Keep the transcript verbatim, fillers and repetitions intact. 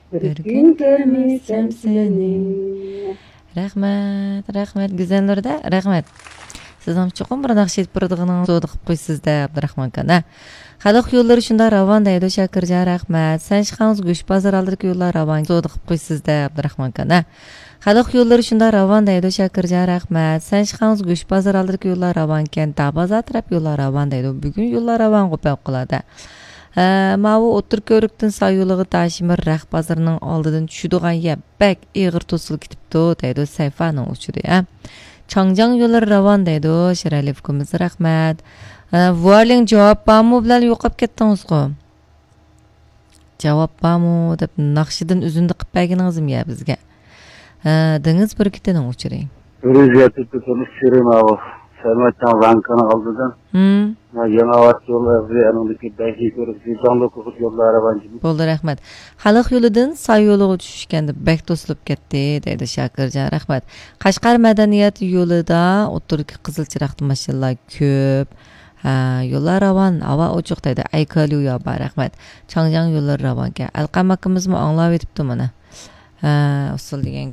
بىر كۈن كۆرمىسەم سېنى. رەھمەت، رەھمەت، گۈزەل نۇردا، رەھمەت. سىزنىڭ چوقۇم بىر ناخشا ئېيتىپ بېرىدىغىنىڭىزنى زادى قىلىپ قويىسىز دە، ئابدۇراخمان ئاكا، ھە؟ خەلق يوللىرى شۇنداق راۋان دەيدۇ، شاكىرجان، رەھمەت. سەن چىققانسېرى گۆشبازار ئالدىدىكى يوللار راۋان، زادى قىلىپ قويىسىز دە، ئابدۇراخمان ئاكا، ھە؟ خەلق يوللىرى شۇنداق راۋان دەيدۇ، شاكىرجان، رەھمەت. سەن چىققانسېرى گۆشبازار ئالدىدىكى يوللار راۋانكەن، داۋازا تەرەپ يوللار راۋان دەيدۇ. بۈگۈن يوللار راۋانغۇ پەۋقۇلئاددە. ھە، ماۋۇ ئوتتۇرا كۆۋرۈكتىن ساي يولىغا تاشىمىر رەخت بازىرىنىڭ ئالدىدىن چۈشىدىغان يەر بەك ئېغىر توسۇلۇپ كېتىپتۇ، دەيدۇ سەيفانىڭ ئۇچۇرى، ھە. چاڭجياڭ يوللىرى راۋان دەيدۇ، شىرئەلى ئۇكىمىز، رەھمەت. ھە، ۋۇئارلىڭ جاۋاب بارمۇ بىلەن يوقاپ كەتتىڭىزغۇ؟ جاۋاب بارمۇ دەپ ناخشىدىن ئۈزۈندە قىلىپ بەرگىنىڭىزمۇ يا بىزگە؟ ھە، دېڭىز بۈركۈتىنىڭ ئۇچۇرى. بىر يۈز يەتتە تۆتىنچى سېرى ماۋۇ. سەمەتنىڭ ۋانكىنىڭ ئالدىدا. ھىم. يېڭى ئاۋات يولى ئەغزى، ئەنىڭدىكى بەشىنچى كۆرۈكتىكى جاڭلۇ كوخۇت يوللار راۋان. بولدى، رەھمەت. خەلق يولىدىن ساي يولىغا چۈشۈشكەندە بەك توسۇلۇپ كەتتى، دەيدۇ شاكىرجان، رەھمەت. قەشقەر مەدەنىيەت يولىدا ئوتتۇرىدىكى قىزىل چىراغدا ماشىنىلار كۆپ. ھە، يوللار راۋان، ھاۋا ئوچۇق، دەيدۇ ئەيكاليۇ يابا، رەھمەت. چاڭجياڭ يوللىرى راۋانكەن. ئەلقەم ئاكىمىزمۇ ئاڭلاۋېتىپتۇ مانا. ھە، ئۇسسۇل دېگەن